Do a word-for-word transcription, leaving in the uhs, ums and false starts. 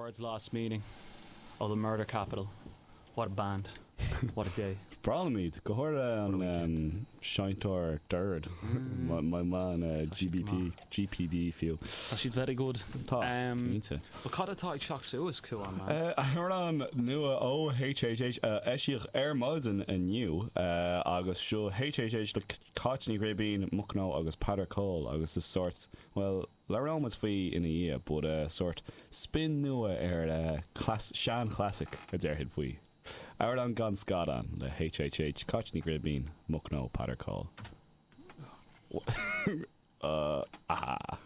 Words lost meaning. Oh, the murder capital. What a band. What a day. Breá liom iad, go háirithe What a an um, seinnteoir dord. My, my man uh, Tá siad G B P, G P B fiú. Tá siad very good. Tá Um, cinnte. Well, cad atá ag teacht suas chugainn, man? Uh, Amhrán nua ó H H H uh, eisíodh ar maidin inniu uh, agus seo H H H le Cáit Ní Ghribín, Mucno agus Peadar Cole agus is sort, well, labhróimid faoi ina dhiaidh, but uh, sort spin nua ar uh, class, sean classic a déarfainn faoi. Amhrán gan Scadán le H H H, Cáit Ní Ghribín, Mucno, Peadar Cole. uh, ah.